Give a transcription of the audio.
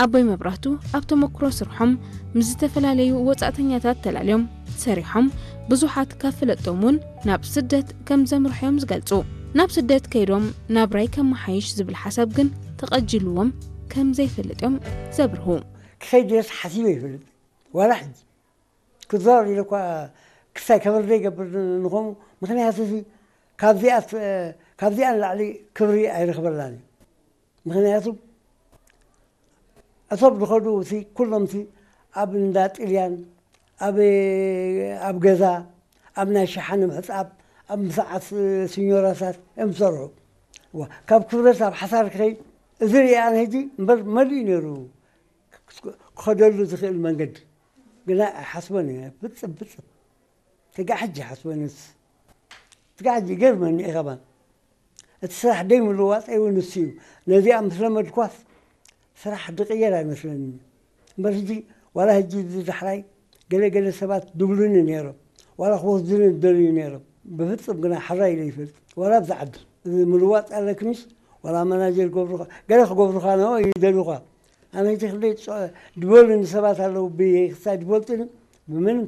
ኣቦይ መብራህቱ ኣብ ተመክሮ ስርሖም ምስ ዝተፈላለዩ ወጻእተኛታት ተላልዮም ሰሪሖም ብዙሓት ካብ ፍለጦም እውን ናብ ስደት ከም ዘምርሑ እዮም ዝገልጹ። ናብ ስደት ከይዶም ናብራይ ከመሓይሽ ዝብል ሓሳብ ግን ተቐጂልዎም ከም ዘይፈልጥ እዮም ዘብርሁ። ክኸይድ ድረስ ሓሲበ ይፈልጥ ዋላ ሕጂ ክዛወር ኢለ እኳ ክሳይ ከበር ዘይገብር ንኾኑ። ምክንያቱ እዚ ካብዚኣ ካብዚኣ ንላዕሊ ክብሪ ኣይረኽበላን እዩ። ምክንያቱ እቶም ዝኸዱ እቲ ኩሎም እቲ ኣብ እንዳ ጥልያን ኣብ ኣብ ገዛ ኣብ ናይ ሸሓነ ምሕፃብ ኣብ ምሳዓት ሲኞራታት እዮም ዝሰርሑ። ካብ ክብረት ኣብ ሓሳር ክኸይ እዚ ሪኣ ሕጂ እምበር መሊኡ ነይሩ ክኸደሉ ዝኽእል መንገዲ ግና ኣይሓስቦን እየ። ብፅብ ብፅብ ትጋ ሕጂ ሓስቦ ንስ ትጋ ሕጂ ይገርመኒ እዩ ከማን እቲ ስራሕ ደይ ምልዋጥ እውን ንሱ እዩ። ነዚኣ ምስ ለመድኳስ ስራሕ ድቕየር ኣይመስለኒ እምበር ሕጂ ዋላ ሕጂ እዚ ዳሕራይ ገለ ገለ ሰባት ድብሉኒ ነይሮም ዋላ ክወስዱኒ ዝደልዩ ነይሮም። ብፍፅም ግና ሕራይ ኢለ ይፈልጥ ዋላ ኣብዚ ዓዲ እዚ ምልዋጥ ኣለክንሽ ዋላ መናጀር ገብሩኻ ገለ ክገብሩኻ ነው ይደልዩኻ። ኣነ ሕጂ ክንደይ ድበሉኒ ሰባት ኣለዉ ብክሳይ ድፈልጡኒ ብምንም